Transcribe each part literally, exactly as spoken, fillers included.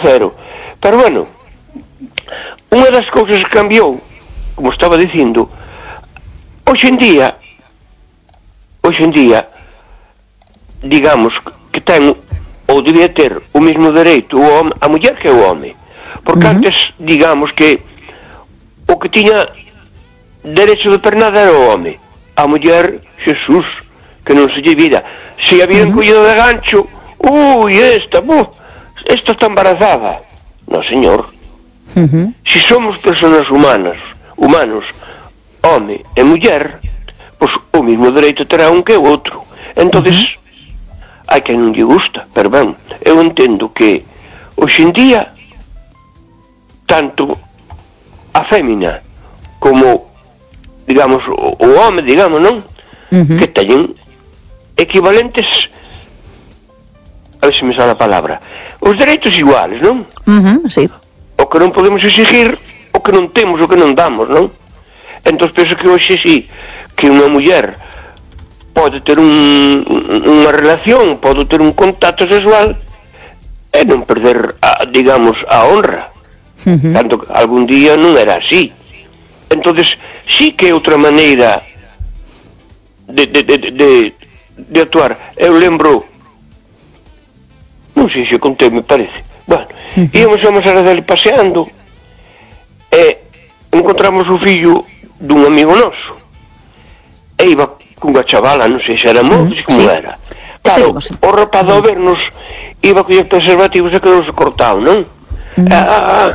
cero. Pero bueno, unha das cousas que cambiou, como estaba dicindo, hoxe en día, hoxe en día, digamos que ten, ou debía ter, o mesmo dereito o home, a muller que o home. Porque uh-huh. antes, digamos que o que tiña derecho de pernada era o home. A muller, Jesús, que non se lle vida. Se habían uh-huh. collido de gancho, ui, esta, buf, esta está embarazada. No, señor. Uh-huh. Si somos personas humanas, humanos, home e muller, pois o mesmo dereito terá un que o outro. Entonces, uh-huh. hai que non lle gusta, pero ben, eu entendo que hoxe en día tanto a fémina como, digamos, o, o home, digamos, non? Uh-huh. Que teñen equivalentes, a ver se me sale a palabra, os dereitos iguales, non? Uh-huh, sí. O que non podemos exigir, o que non temos, o que non damos, non? Entón penso que hoxe sí, que unha muller pode ter un, unha relación, pode ter un contacto sexual e non perder, a, digamos, a honra. Uh-huh. Tanto que algún día non era así. Entonces sí que é outra maneira de, de, de, de, de actuar. Eu lembro, non sei se contei, me parece, bueno, uh-huh. íamos a Mosara dele paseando e encontramos o fillo dun amigo noso e iba cunha chavala, non sei se era mozo, uh-huh. como sí. era. Claro, sí, o rapaz ao vernos iba a coller preservativos e quedou-se cortado, non? Uh-huh. Ah, ah, ah.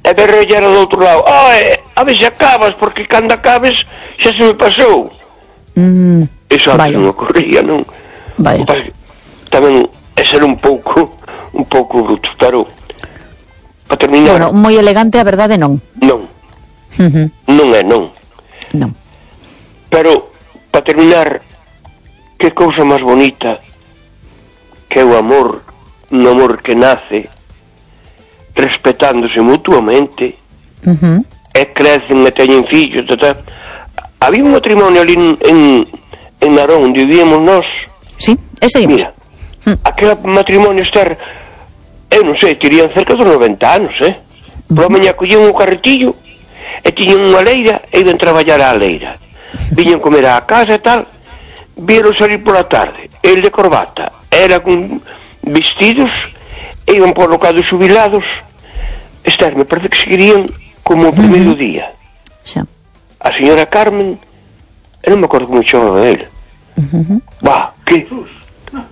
E berrella era do outro lado, ai, a ver se acabas, porque cando acabes xa se me pasou. Mm, Eso antes non ocorría, non? Vaya. Tamén é ser un pouco un pouco bruto, pero para terminar... Bueno, moi elegante, a verdade non. Non. Uh-huh. Non é, non. Non. Pero, para terminar, que cousa máis bonita que é o amor, un amor que nace respetándose mutuamente, uh-huh. e crecen e teñen fillos, tata. Había un matrimonio ali en, en, en Narón, onde vivíamos nós. Sí, ese seguimos. Mira, uh-huh. aquel matrimonio estar, eu non sei, tirían cerca dos noventa anos, eh? Uh-huh. Por a mañá collían un carretillo e tiñan unha leira e iban traballar á leira. Uh-huh. Viñan comer á casa e tal, vieron salir pola tarde, el de corbata, era con vestidos, e iban por locados xubilados. Esther, me parece que seguirían como o primeiro uh-huh. día. Xa. A señora Carmen, eu non me acordo como chamaba ele. Uh-huh. Bah, que...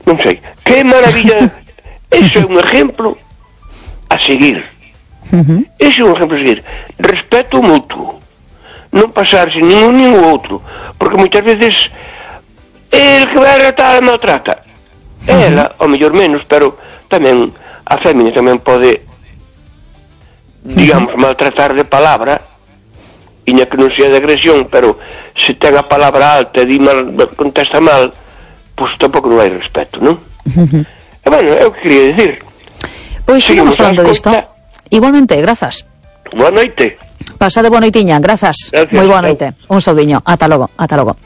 non sei. Que maravilla. Eso é un exemplo a seguir. Uh-huh. Eso é un exemplo a seguir. Respeto mutuo. Non pasarse nin un nin o outro. Porque moitas veces el que vai a tratar maltrata. Uh-huh. Ela, ao mellor menos, pero tamén a fémina tamén pode, digamos, uh-huh. maltratar de palabra, iña que non sea de agresión, pero se ten a palabra alta e di mal, contesta mal, pois tampouco non hai respeto, non? Uh-huh. E bueno, é o que quería dicir. Pois sigamos falando disto. Igualmente, grazas. Boa noite. Pasade boa noitiña, grazas. Moi boa noite. Un saudiño. Ata logo, ata logo.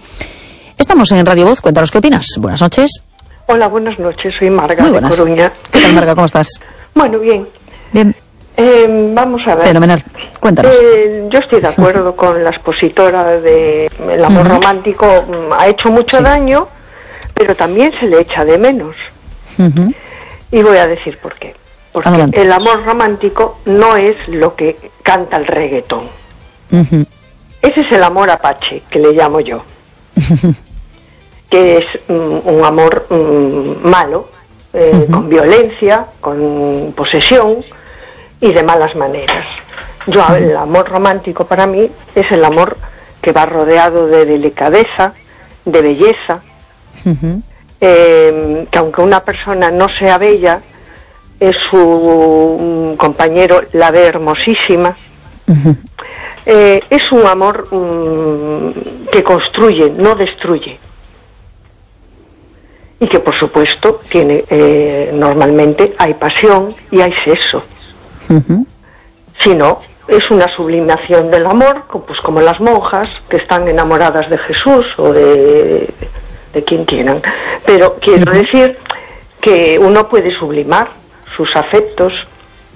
Estamos en Radio Voz, cuéntanos qué opinas. Buenas noches. Hola, buenas noches, soy Marga de Coruña. ¿Qué tal, Marga? ¿Cómo estás? Bueno, bien. Bien. Eh, vamos a ver. Fenomenal. Cuéntanos. Eh, yo estoy de acuerdo con la expositora de el amor uh-huh. romántico. Ha hecho mucho sí. daño, pero también se le echa de menos. Uh-huh. Y voy a decir por qué. Porque Adelante. El amor romántico no es lo que canta el reggaetón. Uh-huh. Ese es el amor apache, que le llamo yo. Uh-huh. Que es um, un amor um, malo, eh, uh-huh. con violencia, con posesión y de malas maneras. Yo, uh-huh. el amor romántico para mí es el amor que va rodeado de delicadeza, de belleza, uh-huh. eh, que aunque una persona no sea bella, es su um, compañero la ve hermosísima. Uh-huh. eh, es un amor um, que construye, no destruye. Y que por supuesto tiene eh, normalmente hay pasión y hay sexo. Uh-huh. Si no, es una sublimación del amor, pues como las monjas que están enamoradas de Jesús o de, de quien quieran. Pero quiero uh-huh. decir que uno puede sublimar sus afectos,